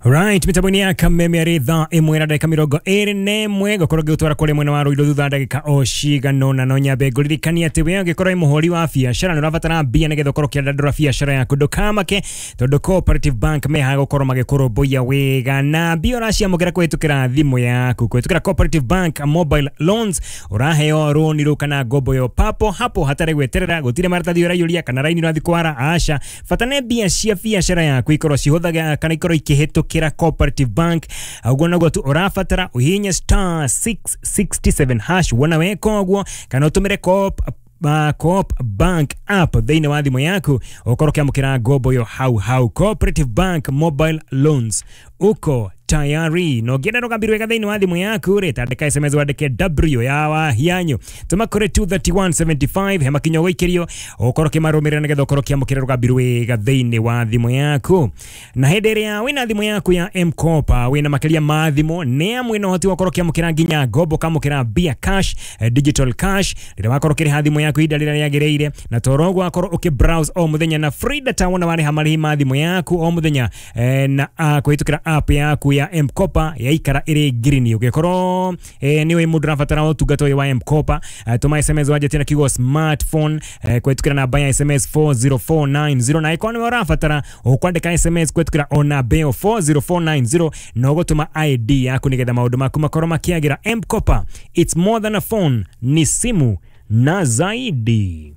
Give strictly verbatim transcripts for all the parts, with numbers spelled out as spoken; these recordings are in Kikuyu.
Right, mitambo-inĩ ya Kameme arĩ thaa ĩmwe na ndagĩka mĩrongo ĩrĩ na ĩmwe ngũkorwo ngĩgũtwara kũrĩ mwena wa Ruiru thutha wa ndagĩka o cigana ũna. No nyambe ngũririkanie atĩ we ũngĩkorwo wĩ mũhũri wa biacara nĩ ũrabatara mbia nĩgetha ũkorwo ũkĩandandũra biacara yaku, ndũkamake tondũ Cooperative Bank mehaga gũkorwo magĩkũrũmbũiya wega na mbia ũraciamũkĩra kũhĩtũkĩra thimũ yaku. Kũhĩtũkĩra Cooperative Bank mobile loans ũraheo rũni rũu kana ngombo yo papo hapo hatarĩ gweterera, gũtirĩ maratathi ũraiyũria kana raini ũrathiĩ kwara, aca. Bata nĩ mbia cia biacara yaku ikorwo cihũthaga kana ikorwo ikĩhĩtũkĩra Cooperative Bank. Ũguo noguo tu ũrabatara ũhihinye star six sixty-seven hash wona weka ũguo, kana ũtũmĩre Coop Uh, Coop Bank app thĩinĩ wa thimũ yaku ũkorwo ũkĩamũkĩra ngombo yo hau hau. Cooperative Bank mobile loans, uko tayari. Na ũngĩenda rũgambi rwega thĩinĩ wa thimũ yaku rĩ, tandĩka S M S wandĩke W ya Wahianyu tũma kũrĩ two thirty-one seventy-five, he makinya ũgũikĩrio ũkorwo ũkĩmarũmĩrĩra nĩgetha ũkorwo ũkĩamũkĩra rũgambi rwega thĩinĩ wa thimũ yaku. Na hĩndĩ ĩrĩa wĩna thimũ yaku ya M-Kopa wĩna makĩria ma thimũ nĩ amwe na ũhoti wa gũkorwo ũkĩamũkĩra nginya ngombo, ũkamũkĩra mbia cash, digital cash rĩrĩa wakorwo ũkĩrĩha thimũ yaku ihinda rĩrĩa rĩagĩrĩire, na toro ũguo wakorwo ũkĩ-browse o mũthenya na free data wona warĩha marĩhi ma thimũ yaku o mũthenya eh, na uh, kũhĩtũkĩra app yaku ya M-Kopa yaikara ĩrĩ green. Ũngĩkorwo eh, nĩ ũĩ mũndũ ũrabatara ũtungata ũyũ wa M-Kopa, eh, tũma S M S wanjĩtie na kiugo smartphone eh, kũhĩtũkĩra namba ya S M S four zero four nine zero, na ĩkorwo nĩwe ũrabatara ũkwandĩka S M S kũhĩtũkĩra o namba ĩyo four zero four nine zero na ũgũtũma I D yaku nĩgetha maũndũ maku makorwo makĩagĩra. M-Kopa, it's more than a phone, ni simu na zaidi.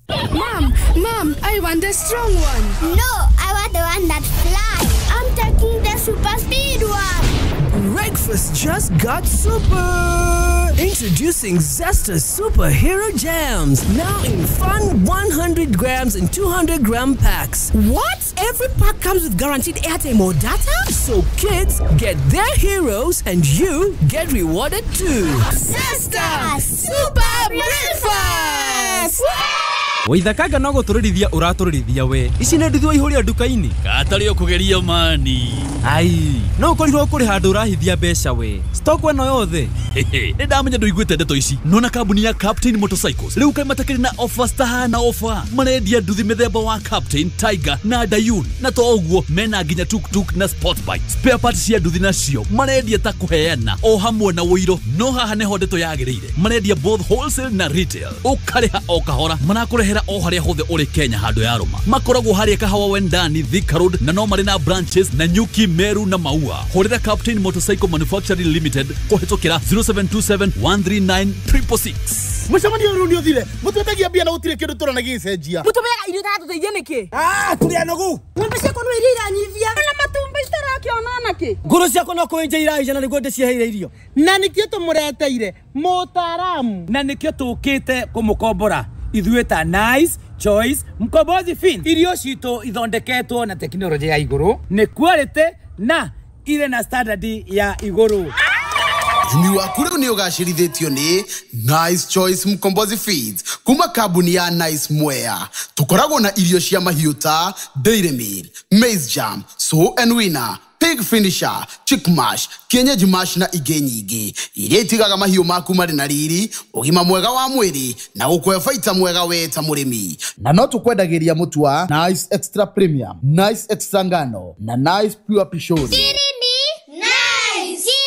Mom, Mom, I want the strong one. No, I want the one that flies. I'm taking the super speed one. Breakfast just got super. Introducing Zesta Superhero Jams, now in fun one hundred grams and two hundred gram packs. What? Every pack comes with guaranteed airtime or data? So kids get their heroes and you get rewarded too. Zesta Super Breakfast! Waithakaga no gũtũrĩrithia ũratũrĩrithia we. Ici nĩ nduthi waihũria nduka-inĩ. Gatarĩ ũkũgeria mani. Ai, no ũkorirwo kũrĩ handũ ũrahithia mbeca we. Stock ĩno yothe. Nĩ ndamenya ndũiguĩte ndeto ici. Nona kambuni ya Captain Motorcycles rĩu kaĩ matakĩrĩ na offers tahana offer. Marendia nduthi mĩthemba wa Captain, Tiger na Dayun. Na to ũguo mena nginya tuk-tuk na sport bike. Spare parts cia nduthi nacio marendia ta kũheana o hamwe na ũiro. No haha nĩho ndeto yagĩrĩire. Marendia both wholesale na retail. Ũkarĩha o kahora. Marakũrehera o harĩa hothe ũrĩ Kenya handũ ya Roma. Makoragwo harĩa Kahawa Wendani, Thika Road, na no marĩ na branches na Nyuki, Meru na Maua. Hũrĩra Captain Motorcycle Manufacturing Limited kũhĩtũkĩra zero seven two seven one three nine triple six. Mũcemanio ũyũ nĩ ũthire. Mũtwendagia mbia na gũtirĩ kĩndũ tũrona gĩgĩcenjia. Mũtũmeaga irio itatũteithia nĩkĩ? Ah, tũrĩ anogu. Ng'ombe ciakwa no iria iranyivia. Na matumbĩ citarakĩona nakĩ? Ngũrũ ciakwa no kũenja iraija na nĩguo ndĩciheire irio. Na nĩkĩo tũmũreteire mũtaaramu. Na nĩkĩo tũkĩte kũmũkombora. Ithuĩ ta Nice Choice Mkombozi Fin. Irio citũ ithondeketwo na tekinoronjĩ ya igũrũ, nĩ quality na irĩ na standard ya igũrũ. Ũrĩmi waku rĩu nĩ ũgacĩrithĩtio nĩ Nice Choice Mkombozi Feeds kuma kambuni ya Nice Mwea. Tũkoragwo na irio cia mahiũ ta Dairy Meal, Maize Jam, Sow and Winner, Pig Finisher, Chick Mash, Kienyeji Mash na ingĩ nyingĩ iria itigaga mahiũ maku marĩ na riri, ũgima mwega wa mwĩrĩ na gũkũhe baita mwega we ta mũrĩmi. Na no tũkwendagĩria mũtu wa Nice Extra Premium, Nice Extra Ngano na Nice Pure Pishori. Nice.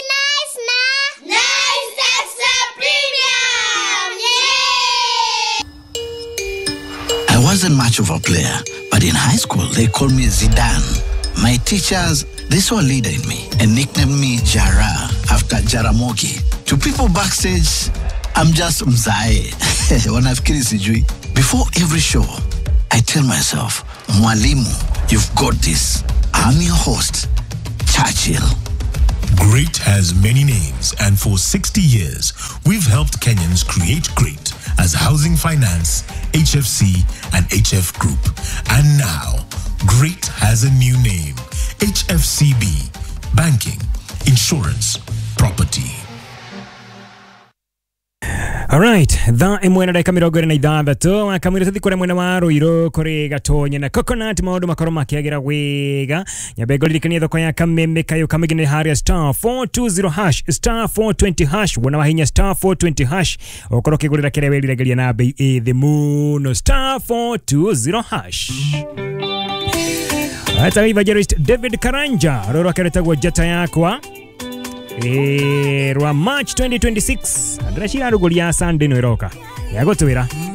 Nice na Nice Extra Premium. Yeah! I wasn't much of a player, but in high school they called me Zidane. My teachers, they saw a leader in me and nicknamed me Jara after Jaramogi. To people backstage, I'm just Mzae. Wanafikiri sijui. Before every show, I tell myself, Mwalimu, you've got this. I'm your host, Churchill. Great has many names, and for sixty years, we've helped Kenyans create great as Housing Finance, H F C, and H F Group. And now, Great has a new name, H F C B, Banking, Insurance, Property. Alright, thaa ĩmwe na ndagĩka mĩrongo ĩrĩ na ithathatũ akamwĩra tũthiĩ kũrĩa mwena wa Ruiru kũrĩ Gatonye na Coconut maũndũ makorwo makĩagĩra wega. Nyambe ngũririkanie thoko ya Kameme Kayũ Kamĩngĩ nĩ harĩa star four two zero hash star four twenty hash wona wahinya star four twenty hash ũkorwo ũkĩgũrĩra kĩrĩa wĩriragĩria na bei ĩ thĩ mũno star four two zero hash. Eta evangelist David Karanja rũrũ rwake rwĩtagwo Njata Yakwa eh, rwa March twenty twenty-six. Ndĩreciria rugũria Sunday ĩno ĩroka ya gũtwĩra.